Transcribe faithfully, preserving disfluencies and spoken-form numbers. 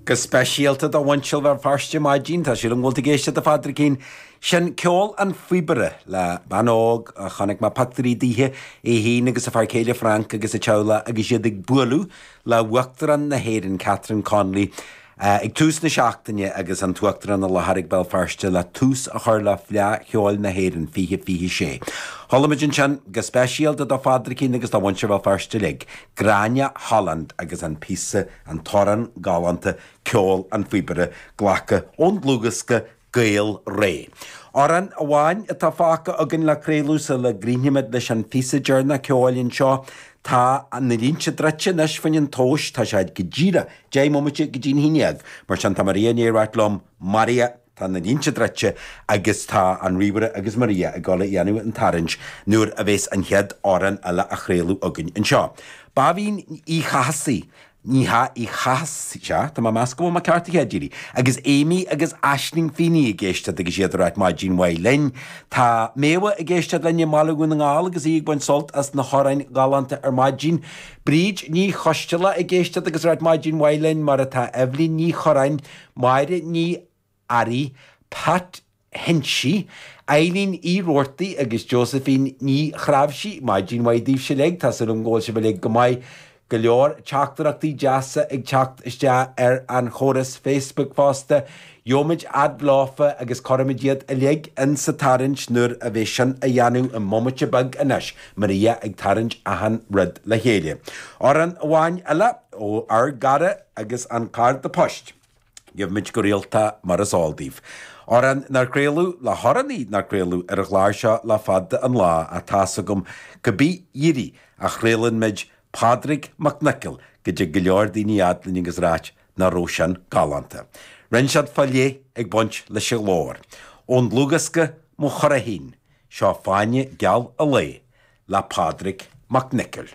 Go speisialta do mhuintir Bhéal Feirste maidin, tá súil agam go bhfuil tú ag éisteacht a Phádraicín. Sin ceol an phíobaire le bean óg a chonaic mé pictiúirí daoithe, í féin agus a fear céile Frank agus a teaghlach agus iad ag bualadh le hUachtarán na hÉireann Catherine Connolly ag tús na seachtaine agus an tUachtarán i láthair ag Béal Feirste le tús a chur le Fleadh Cheoil na hÉireann fiche fiche sé. Chuala muid ansin go speisialta do Phádraicín agus do mhuintir Bhéal Feirste uilig, Gráinne Holland agus an píosa, an t-amhrán galánta Ceol an Phíobaire glactha ón dlúthdhiosca Gael Ré. Amhrán amháin atá fágtha againn le craoladh sula gcríochnaímid leis an phíosa deireanach ceoil anseo. Tá na línte druidte anois fá choinne an tomhais, tá sé go díreach deich mbomaite go dtí'n haon dhéag. Mar sin tá Maria i ndiaidh a ráit liom, Maria, tá na línte druidte agus tá an ríomhaire agus Maria ag dul a dhéanamh an tarraingt nuair a bheas an chéad amhrán eile á chraoladh againn anseo. Báibín Uí Chathasaigh, Ní hea, Uí Chathasaigh, sea, tá mé ag meas go bhfuil mé ceart a chéad iarraidh, agus Amy agus Aisling Feeney ag éisteacht agus iad ag ráit maidin mhaith linn. Tá Méabha ag éisteacht linn i mBaile Dhún na nGall agus í ag baint sult as na hamhráin ghalánta ar maidin. Bríd Ní Choisteala ag éisteacht agus ag ráit maidin mhaith linn, mar atá Eibhlín Ní Chorráin, Máire Ní Fhearraigh, Pat Henchy, Eileen Uí Roarty agus Josephine Ní Chráimhsí. Maidin mhaith daoibhse uilig, tá súil agam go bhfuil sibh uilig go maith. Go leor teachtaireachtaí deasa ag teacht isteach ar an chóras Facebook fosta. Gheobhaimid fhad leofa agus cuirfimid iad uilig in sa tarraingt nuair a bheidh sin á dhéanamh i mbomaite beag anois, Maria ag tarraingt achan rud le chéile. Amhrán amháin eile ó ár gcara agus an cárta poist. Gheobhaimid go rialta mar is eol daoibh. Amhrán nár craoladh le hamhránaí nár craoladh ar an chlár seo le fada an lá ach tá's agam cibé iarraidh a chraolann muid Pádraig Mac Niocaill go dtig go leor daoine fhad linn agus ráit nach raibh sin galánta. Rinne siad fá leith ag baint leis an ghlór. Ón dlúthdhiosca Mo Churraichín, seo Fáinne Geal an Lae le Pádraig Mac Niocaill.